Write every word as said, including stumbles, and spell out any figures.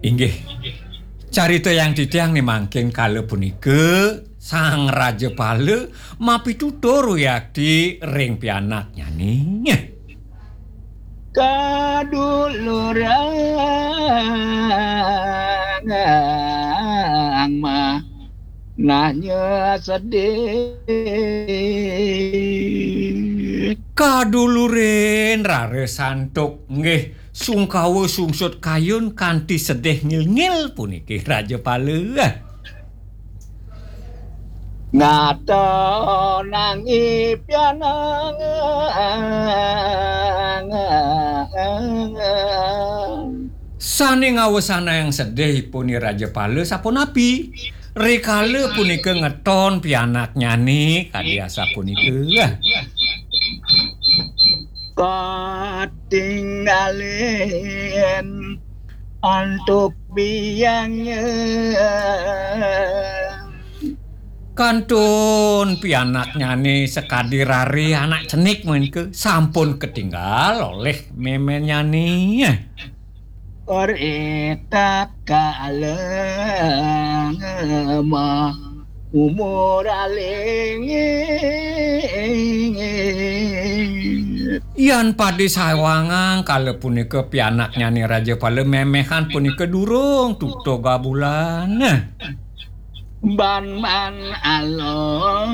Inggih. Carita yang titiang nih mangkin kala punika Sang Rajapala mapitutur wiakti ring pianaknyane. Kadulurang mah nanya sedih. Kadulurin rara santuk nggih sungkawa sungsut kayun kanthi sedih ngil-ngil puniki Rajapala. Ngata nangi pianang. Sane ngawesanayang sedih ipun Rajapala sapunapi? Rikala punika ngeton pianaknyane kadi asapunika. Katinggalen antuk biangnya. Kantun pianaknyane sakadi rare anak cenik menika sampun ketinggal oleh memenyane. Ritak kalema umur alingit. Yan padi sawangang kala punika pianaknyane Rajapala memehan punika durung tutug bulan. Ban man alongon.